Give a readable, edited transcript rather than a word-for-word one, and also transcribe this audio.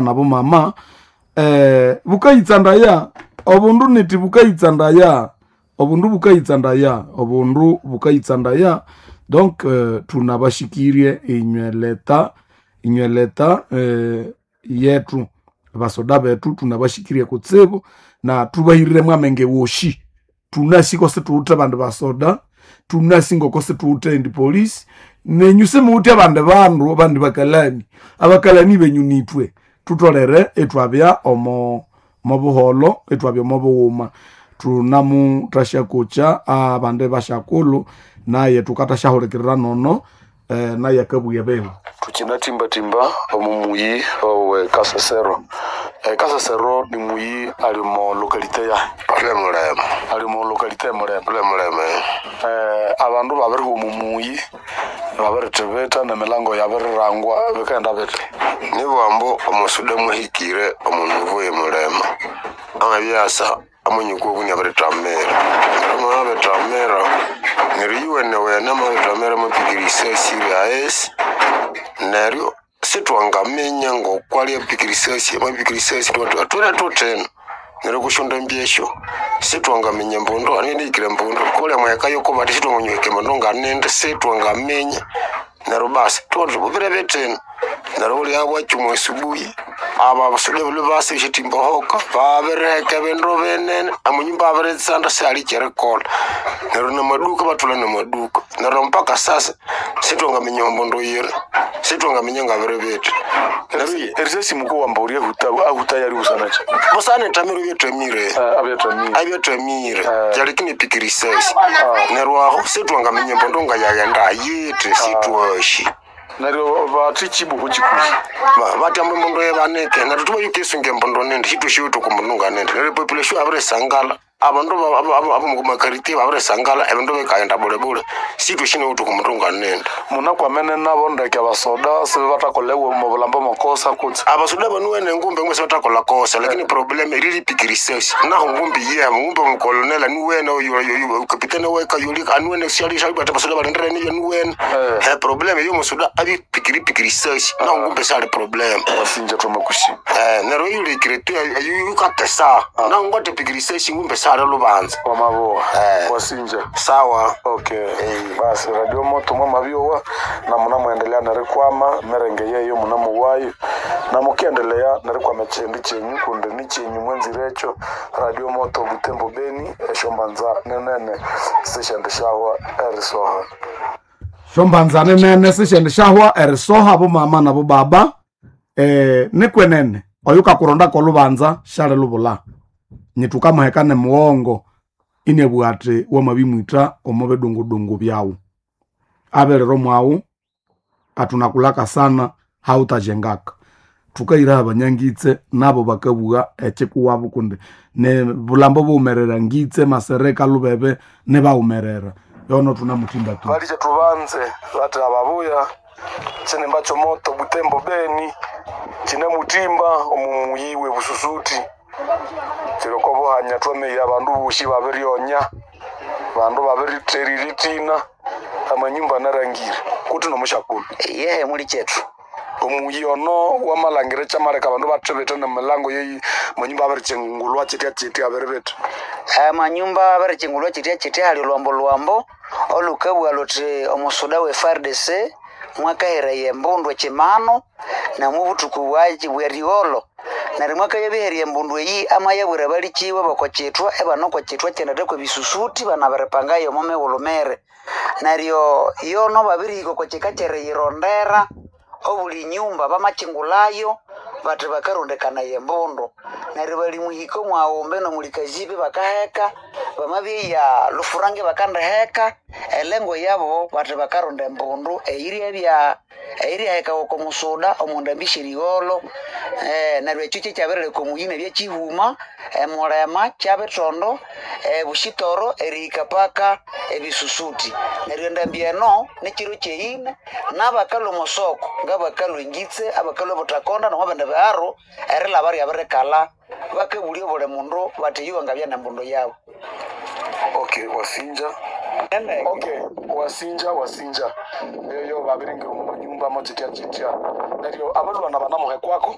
Nabo mama bukayitsandaya obundu niti bukayitsandaya obundu bukayitsandaya obundu bukayitsandaya. Donc tunabashikirie inywe leta, inywe leta yetu basoda bethu tunabashikirie kutsibu na thubahirire amenge woshi. Thunasi ko situwithe abandi basoda, thunasi ngoko situwithe endi police, nenyu simuwithe abandi bandu abandi bakalani. Abakalani benyu nithwe thutholere ithwabya omo mobuholho, ithwabya omo bughuma. Thunamuthasyakocha abandi basyakulhu naye thukathasyahulikirira nono naye akabugha ebibi. Thukyinathimbathimba omu muyi owe Kasesero. Kasesero ni muyi ali omo locality yahi? Ule mulema. Ali omo locality e Mulema. Ule mulema. Abandu babirihwa omu muyi, babirithibitha nemilango yabirirangwa, bikaghenda bithi? Nibwambu omusuda muhikire omu nivo ye Mulema. Amabyasa amanyuku oku inabiritamira. Neryo amabiritamira, neryo yuwenewene amabiritamira amapika erisasi ryaghesi, neryo sithwangaminya ngokwali apika erisasi, amapika erisasi thwere thuthina. Neryo kusyondambi esyo sithwangaminya embundu anindihikire embundu kuli amaheka yoko bathi sithwanganyuhika embundu nganindi sithwangaminya. Neryo basi thubona thuthi bubire bithina. Neryo bulya bwakya omwa subuhi abasuda balhwe basa esyathimba hoka babiriheka ebindu binene amanyumba abiritsanda sihali ekyerikolha. Neryo namaduka ibathulha namaduka. Neryo mpaka sasa sithwangaminya embundu yiri, sithwangaminya ngabiri bithi. Neryo Erisasi mukuwamba ulya ahuta ahuta yali busana ki? Busana ethamiro ebyathamire. Abyathamire. Abyathamire. Kyaleka inapika erisasi. Neryo aho sithwangaminya embundu ngayaghenda yithi sithwashi. Neryo bathi kibuku kikuhi? Bathi ambu embundu yibanike neryo thubayukisunga embundu nindi sithwashiwithe oko mbundu nganindi. Neryo epopulation yabirisangala abandu abomumakaritiye babirisangala ebindu bikaghenda bulebule sithwashinawithe oko mbundu nganindi. Munakwamene nabo ndeke abasoda sibathakolha omu bulamba makosa kutse? Abasoda banuwene ngumbi ngumbi sibathakolha kosa lakini problem eriripika erisasi nahu ngumbi yebo ngumbi omukolonel anuwene kapitene wekayoli anuwene syali abasoda balindire niyo anuwene. Problem eyomusoda abipikiripika erisasi nahu ngumbi syali problem. Wasinja thwamakushima. Neryo eyulhikire tu eyukatesa nahu ngathapika erisasi ngumbi syali lubanza. Wamaboha. Wasinja. Sawa. Okay. Basi radio moto mwamabyowa na munamuendelea nerikwama merenge yeyo munamuwayo na mukiendelea nerikwama ekyindi kyenyu kundi ni kyenyu mwenzire ekyo radio moto Butembo Beni esyombanza nenene sishendishahwa erisoha. Syombanza ninene sisyendishahwa erisoha bomama nabo baba nikwenene oyukakurondako olhubanza syalilubulha. Nyithukamuheka nemughongo inabugha athi wamabimwitha omo bidungudungu byawu. Abilira omwaghu athunakulhaka sana hawuthajengaka. Thukahira abanyangitse nabo bakabugha ekyikuwabo kundi ne bulhambo bughumerera ngitse, masereka, lubebe nibaghumerera. Yono thunamuthimba tu. Balikye thubanze bathi ababuya kyinimba kyomoto Butembo Beni kyinamuthimba omu muyi we Bususuti. Kyiri oko buhanya thwamiya abandu bosi babiryonya, abandu babirithera erithina, amanyumba anarangire kuthi nomusyakulhu. Yehe muli kyethu. Omuyi ono wamalhangira ekyamaleka abandu bathibitha nemilango yeyi amanyumba abirikyingulwa kyitya kyitya abiribitha. Amanyumba abirikyingulwa kyitya kyitya hali olhwambo lhwambo olhukabugha lhuthi omusuda we FARDC mwakaheraya embundu ekyimano namubuthuku bwerigholho. Neryo mwakayabiherya embundu eyi amayabwira abalikiwe bokokyithwa ibane okokyithwa kyendatha kwebisusuti banabiripangayo omo mighulhu miri. Neryo yono babirihika okokyika kyeriyirondera obuli nyumba bamakyingulhayo bathi bakarondekanaya embundu. Neryo bali muhika omwaghumbi nomuli Kazibi bakaheka, bamabyeya Lufurange bakandiheka, elengo yabo bathi bakaronda embundu eyiryabya eyiryahekawa oko musuda omondambi syerigholho. Neryo ekyo kyekyabirileka omuyi inabya kyihuma, emulema, kyabithondo, ebushitoro erihika paka ebisusuti. Neryo endambi eno nikyiro kyeyina nabakalhwa omosoko ngabakalhwa engitse, abakalhwa ebuthakonda nomwabindi biharu erilhaba ryabirikalha bakabulya obuli mundu bathi iyo ngabya nembundu yabu. Okay, wasinja. Okay, wasinja wasinja. Eyo babiringira omu manyumba mo kyitya kyitya. Neryo abalhwana banamuhekwako.